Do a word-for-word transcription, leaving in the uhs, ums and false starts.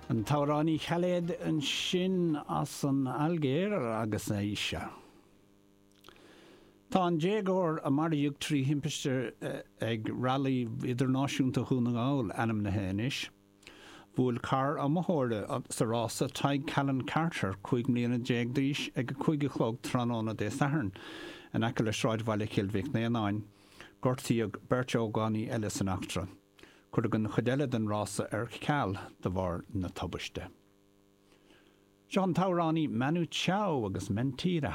An t-amhránaí Khaled ansin as an Ailgéir agus Aisha. Tá an déagóir a maraíodh trí thimpiste ag Railí Idirnáisiúnta Dhún na nGall ainmnithe anois. Bhuail carr iomaitheora sa rása Tadhg Callan Carter cúig mbliana déag d'aois ag a cúig a chlog tráthnóna Dé Sathairn in aice le sráidbhaile Chill Mhic Néanáin. Gortaíodh beirt ógánaigh eile san eachtra. Cuireadh an chuid eile den rása ar ceal de bharr na tubaiste. Seo an t-amhránaí Manu Chao agus Mentira.